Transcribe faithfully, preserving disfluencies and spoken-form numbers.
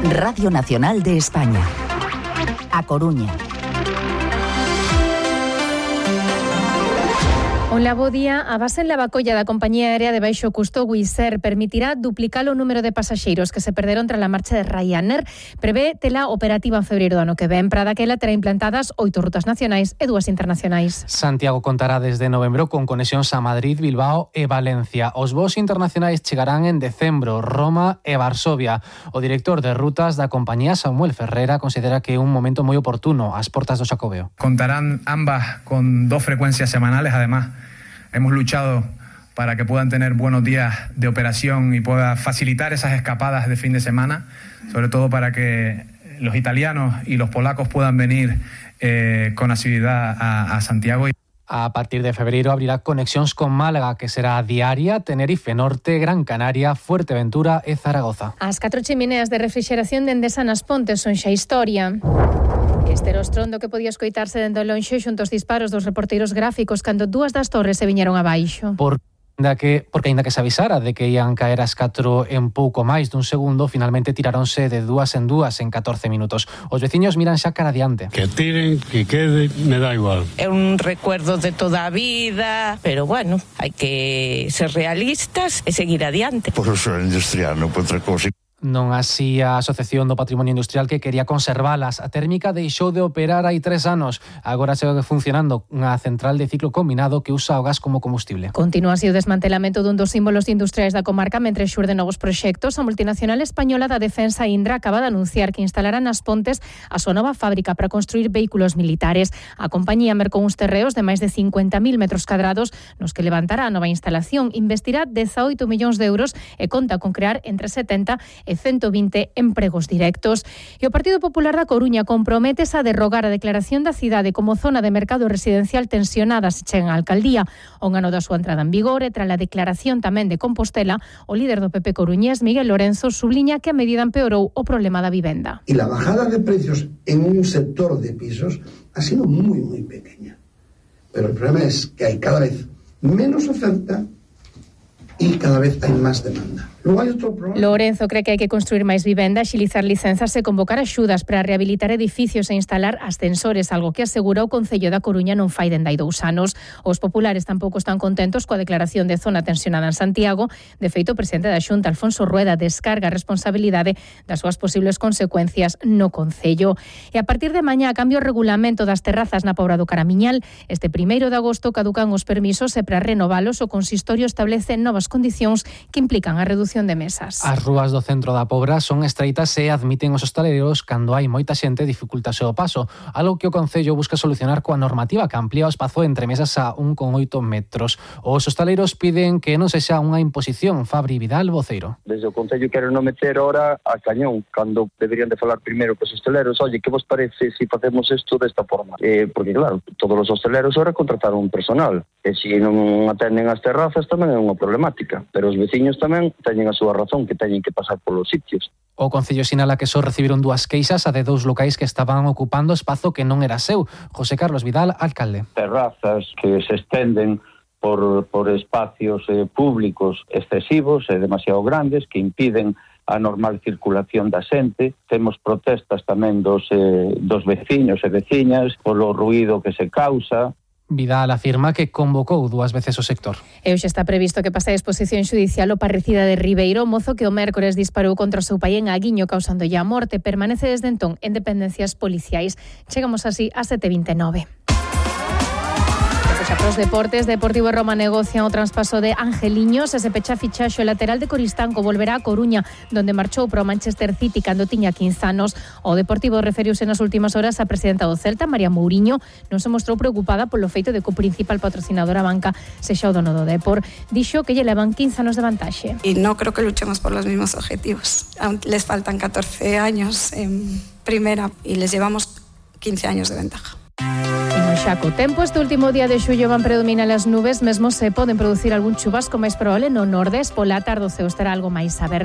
Radio Nacional de España. A Coruña. Hola, bo día. A base en Lavacolla da compañía aérea de baixo custo Wizz Air permitirá duplicar o número de pasaxeiros que se perderon tras a marcha de Ryanair. Prevé tela operativa en febreiro do ano que ven. Para daquela terá implantadas oito rutas nacionais e dúas internacionais. Santiago contará desde novembro con conexións a Madrid, Bilbao e Valencia. Os voos internacionais chegarán en decembro, Roma e Varsovia. O director de rutas da compañía, Samuel Ferreira, considera que é un momento moi oportuno ás portas do Xacobeo. Contarán ambas con dos frecuencias semanales, además. Hemos luchado para que puedan tener buenos días de operación y pueda facilitar esas escapadas de fin de semana, sobre todo para que los italianos y los polacos puedan venir eh, con asiduidad a, a Santiago. A partir de febreiro abrirá conexións con Málaga, que será diaria, Tenerife Norte, Gran Canaria, Fuerteventura e Zaragoza. As catro chimineas de refrixeración de Endesa nas Pontes son xa historia. Este era o estrondo que podía escoitarse dende o lonxe xunto aos disparos dos reporteiros gráficos cando dúas das torres se viñeron abaixo. Por que, porque aínda que se avisara de que ian caer as catro en pouco máis dun segundo, finalmente tiraronse de dúas en dúas en catorce minutos. Os veciños miran xa cara adiante. Que tiren, que quede, me da igual. É un recuerdo de toda a vida, pero bueno, hai que ser realistas e seguir adiante. Por uso industrial, non por outra cousa. Non así a Asociación do Patrimonio Industrial, que quería conservalas. A térmica deixou de operar hai tres anos. Agora segue funcionando unha central de ciclo combinado que usa o gas como combustible. Continúa así o desmantelamento dun dos símbolos industriais da comarca mentre xurde novos proxectos. A multinacional española da defensa Indra acaba de anunciar que instalará nas Pontes a súa nova fábrica para construir vehículos militares. A compañía mercou uns terreos de máis de cincuenta mil metros cadrados nos que levantará a nova instalación. Investirá dezaoito millóns de euros e conta con crear entre setenta e ciento vinte empregos directos. E o Partido Popular da Coruña comprométese a derrogar a declaración da cidade como zona de mercado residencial tensionada se chega á alcaldía. O ano da súa entrada en vigor e tras a declaración tamén de Compostela, o líder do P P coruñés, Miguel Lorenzo, subliña que a medida empeorou o problema da vivenda. Y la bajada de precios en un sector de pisos ha sido muy, muy pequeña. Pero el problema es que hay cada vez menos oferta y cada vez hay más demanda. Luego hay otro problema. Lorenzo cree que hai que construir máis vivenda, axilizar licenzas e convocar axudas para rehabilitar edificios e instalar ascensores, algo que asegura o Concello da Coruña non fai dende hai dous anos. Os populares tampouco están contentos coa declaración de zona tensionada en Santiago. De feito, o presidente da Xunta, Alfonso Rueda, descarga a responsabilidade das súas posibles consecuencias no Concello. E a partir de mañá cambia o regulamento das terrazas na Pobra do Caramiñal. Este primeiro de agosto caducan os permisos e para renovalos o consistorio establece novas condicións que implican a reducción de mesas. As rúas do centro da Pobra son estreitas e admiten os hostaleiros cando hai moita xente dificultase o paso, algo que o Concello busca solucionar coa normativa que amplía o espazo entre mesas a un coma oito metros. Os hostaleiros piden que non sexa unha imposición. Fabri Vidal, voceiro. Desde o Concello queren non meter ahora a cañón, cando deberían de falar primeiro cos hostaleiros. Oye, que vos parece se si facemos isto desta forma? Eh, porque claro, todos os hostaleiros ahora contrataron personal, e se non atenden as terrazas tamén é unha problemática, pero os veciños tamén teñen a súa razón, que teñen que pasar polos sitios. O Concello sinala que só recibiron dúas queixas, a de dous locais que estaban ocupando espazo que non era seu. José Carlos Vidal, alcalde. Terrazas que se estenden por, por espacios eh, públicos excesivos e demasiado grandes que impiden a normal circulación da xente. Temos protestas tamén dos, eh, dos veciños e veciñas polo ruído que se causa. Vidal afirma que convocou dúas veces o sector. E hoxe está previsto que pase a exposición xudicial o parricida de Ribeiro, mozo que o mércores disparou contra o seu pai en Aguiño, causándolle a morte. Permanece desde entón en dependencias policiais. Chegamos así a sete e vinte e nove. Xa pros deportes, Deportivo Roma negocia o traspaso de Angeliños e se pecha fichaxe o lateral de Coristanco volverá a Coruña, donde marchou pro Manchester City cando tiña quince anos. O Deportivo referiuse nas últimas horas a presidenta do Celta, María Mouriño, non se mostrou preocupada polo feito de que o principal patrocinador a banca sexa o dono do Depor. Dixo que lle levan quince anos de vantaxe. Y no creo que luchemos por los mismos objetivos. Aún les faltan catorce años en primera y les llevamos quince años de ventaja. Xaco tempo, este último día de xullo van predominar as nubes, mesmo se poden producir algún chubasco máis probable no nordés. Pola tarde o ceo estará algo máis aberto.